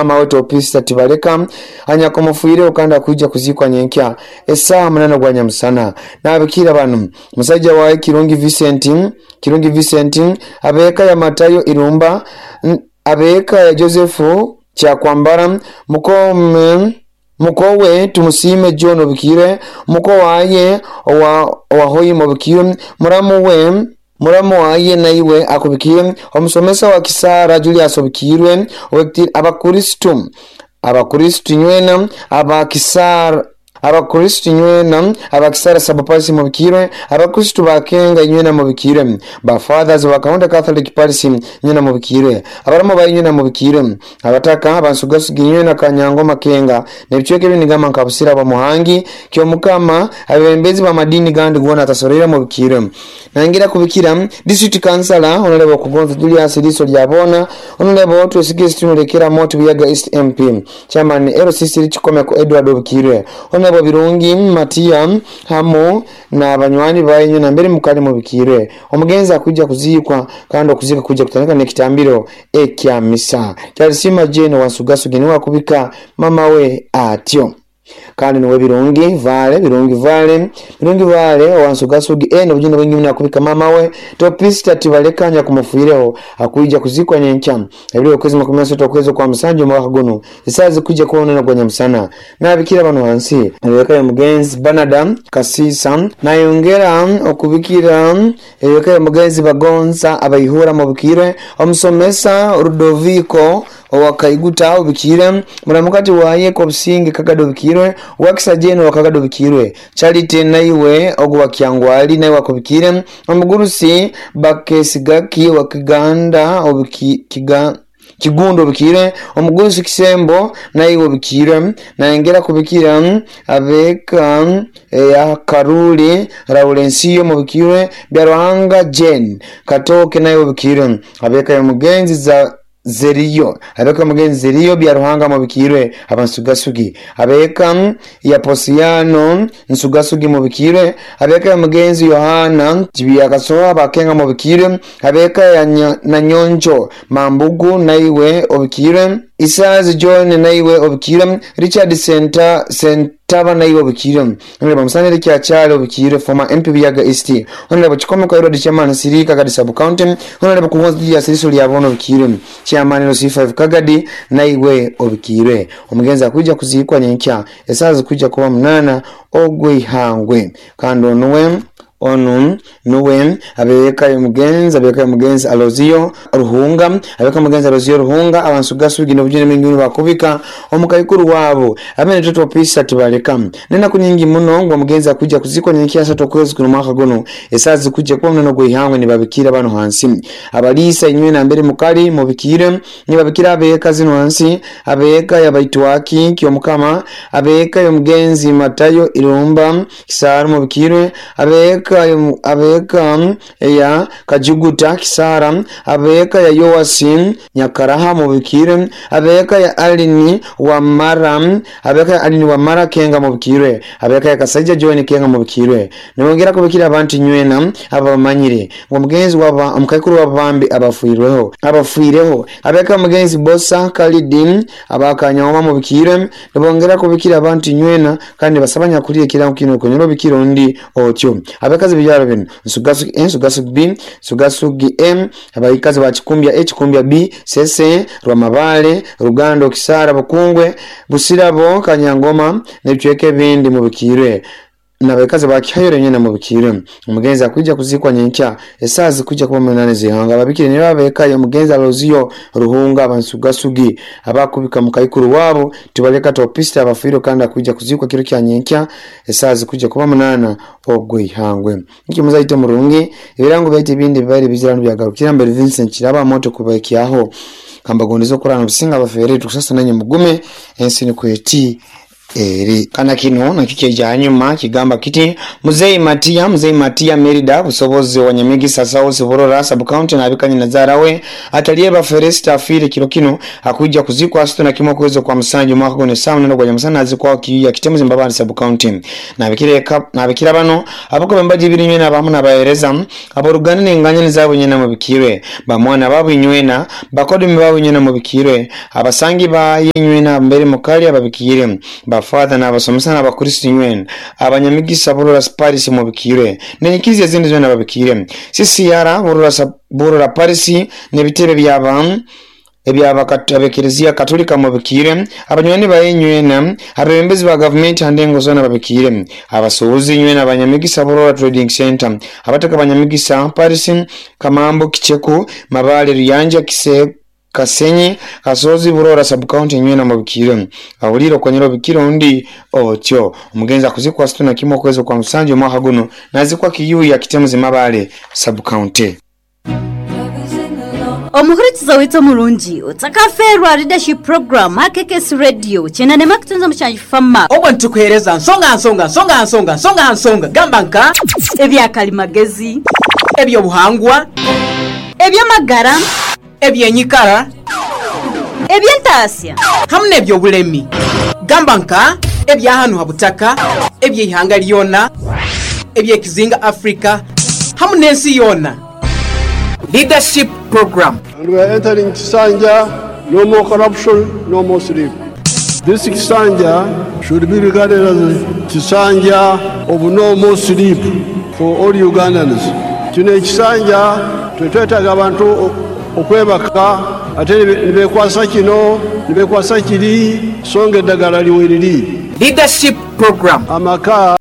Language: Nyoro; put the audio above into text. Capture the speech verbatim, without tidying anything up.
Mama wetu Opista Tibaleka anyakomufuireho kandi akuija kuzikwa nyenkya esaha munana gwa nyamusana. Nabikira banu musajja wawe Kirungi Vincent Kirungi Vincent, abeka ya Matayo Irumba, abeka ya Joseph Kyakwambara, mukome mukowe Tumusime John Obikire, muko waye owa owahoyi Obikire, muramu we muramu waye naiwe akubikire, omusomesa wa Kisara Julius Obikirwe, abakristu abakristu nywena abakisara abakristu nywena abakisara sabapasi mubikirwe, abakristu bakenga nywena mubikirwe, ba fathers ba Kaunda Catholic Parish nywena mubikirwe, abaramu ba nywena mubikirwe, abataka abansugasugi nywena Kanyango Makenga nebicweke binigama nkabusira ba Muhangi Kyomukama, abebembezi ba madini gandi gona atasorera mubikirwe. Nangira kubikira district councilor Honorable Kugonza Julius Liso Lyabona, Honorable Twesige Stunulekera Moto Buyaga East M P, Chairman L C C Chikomeko Edward Obikirwe, Honorable Birungi Matia hamu na banywani bayenyu na mbere mukali mubikirwe. Omugenzi akuja kuzikwa kandi okuzika kuja kutandika n'ekitambiro ekya misa. Kyalisima Jane Wansugasugi niwe akubika mama we atyo. Kandi niwe Birungi Vale, Birungi Vale, Birungi Vale Wansugasugi eno bujino bwingi muna akubika mama we Topista Tibalekanya kumufuireho akuija kuzikwa nyenkya ebiro okwezi makumi asatu okwezi kwa musanju mwaka guno isazi kuja kuona na kwa msana. Nabikira bano hansi ebeka ya mugenzi Banada Kasisa, nayongera okubikira ebeka ya mugenzi Bagonza abayihura mubikire, omusomesa Rudoviko owakaiguta obikire, muramukati waye kobusinge Kagado bikirwe, wakisajeno wakagado bikirwe, Charity naiwe ogwa Kyangwali naiwe akubikire, omugurusi Bakesigaki wakiganda obiki kiga Kigundo bikire, omugurusi Kisembo naiwe bikire, nayongera kubikira abeka ya Karuli Laurensiyo mubikire, Byaruhanga Jane Katoke naiwe bikire, abeka ya mugenzi za Zeriyo, abeka mugenzi Zeriyo Byaruhanga mubikirwe abansugasugi, abeka ya Posiano Nsugasugi mubikirwe, abeka ya mugenzi Yohana Tibyakasoa bakenga mubikirwe, abeka ya Nanyonjo Mambugu naiwe obikirwe, Isazi John naiwe obikirwe, Richard Senta Sentaba naiwe obikirwe, Honorable Musanire Kyakyale obikirwe, former M P Buyaga East, Honorable Chikomeko Edward Chairman Siri Kagadi Sub County, Honorable Kugonza Julius Liso Lyabono obikirwe, Chairman L C five Kagadi naiwe obikirwe. Omugenzi akuja kuzikwa nyenkya esazi kuja kuba munana ogwihangwe. Kandi onuwe onu nuwe abeka mugenzi abeka mugenzi Alozio Ruhunga, abeka mugenzi Alozio Ruhunga abansugasugi n'obujene mingi bakubika omukayikuru wabo amene toto pisa tibaleka nena kunyingi muno ngo mugenzi akuja kuzikwa nyenkya sato kwezi kuno mwaka guno esazi kuja kuba munana gwihangwe nibabikira bano hansi abalisa inywe na mbere mukali mubikire nibabikira abeka zino hansi abeka yabaitwaki Kyomukama, abeka yomugenzi Matayo Irumba Kisara mubikire, abeka abeka ya Kajuguta Kisara, abeka ya Yoasi Nyakaraha mubikire, abeka ya Alini wa Mara, abeka ya Alini wa Mara Kenga mubikire, abeka ya Kasaija John Kenga mubikire. Nibongera kubikira abantu nywena abamanyire ngo mugenzi waba omukayikuru wabambi abafuireho abafuireho abeka mugenzi Bosa Kalidin abakanyoma mubikire. Nibongera kubikira abantu nywena kandi basabanya kulire kirango kino konyoro bikiro ndi otyo. Abakazi bijaro bino Nsugasugi N, Nsugasugi B, Nsugasugi M, abayikazi ba Kikumbya A, Kikumbya B, Sese, Rwamabale, Rugando, Kisara, Bukungwe, Busirabo, Kanyangoma n'ebicweka ebindi mubikire. Nabakazi ba Kihayore nyene mubikire. Omugenzi akuja kuzikwa nyenkya esazi kuja kuba munane zihanga ababikire ne babeka yo mugenzi Alozio Ruhunga abansugasugi abakubika mukayikuru wabo tibaleka topista abafuiro kandi akuja kuzikwa kiro kya nyenkya esazi kuja kuba munana ogwihangwe. Niki muzaite murungi ebirango baite bindi bibali bizirano byagarukira mbere Vincent Kiraba moto kubakiaho kambagondezo kurana businga abafere tukusasa nanye mugume ensi ni kweti Eri kana kino nakyo kyeja hanyuma kigamba kiti Muzei Matia Muzei Matia Merida busobozi wa Nyamigisa South Burora sub county nabikanye nazarawe atalieba Feresta afire kiro kino akuja kuzikwa asitu na kimwe kwezo kwa musanju mwaka guno saa munana gwa nyamusana azikwa kiyuya Kitemuzi Mbabali sub county. Nabikire nabikira bano abako bembaji ibiri nywena abamu nabahereza aboruganda nenganya nizabo nyena mubikirwe bamwana babu inywena bakodumi babu nywena mubikirwe abasangi ba inywena mbere mukali ababikire bafather n'abasomesa n'abakristo nywena abanyamigisa Burora Paris mubikirwe nenyikizi ezindi zwena babikire C C R Burora Burora Paris n'ebitebe byaba ebyabakatebekerezia Katolika mubikire abanywani bayenywena abebembezi ba government handengo zona babikire abasuubuzi nywena abanyamigisa Burora Trading Center abataka abanyamigisa Paris Kamambo Kicheku Mabale Ruyanja Kise Kasenyi Kasozi Burora sub county nywena mubikire awuliro kwenyero bikiro undi otyo omugenzi akuzikwa situna kimwe kwezo kwa musanju mwaka guno nazikwa kiyu ya Kitemuzi Mabale sub county. Omuhurikiza wito mulungi otakaferwa leadership program H K S Radio chenane makutunza mushanji fama obwo ntukuhereza nsonga nsonga nsonga nsonga nsonga nsonga gamba nka ebyakalimagezi, ebyobuhangwa, ebyamagara, ebyenyikara, ebyentasya hamwe n'ebyobulemi gamba nka ebyahanu habutaka, ebyeihanga lyona, ebyekizinga Afrika hamwe n'ensi yona. Leadership program. And we are entering Kisanja, no more corruption, no more sleep. This Kisanja should be regarded as Kisanja of no more sleep for all Ugandans. Kino ekisanja tetwetaaga abantu okwebaka ate nibekwasa kino nibekwasa kiri songa eddagala liweriri. Leadership program. Amaka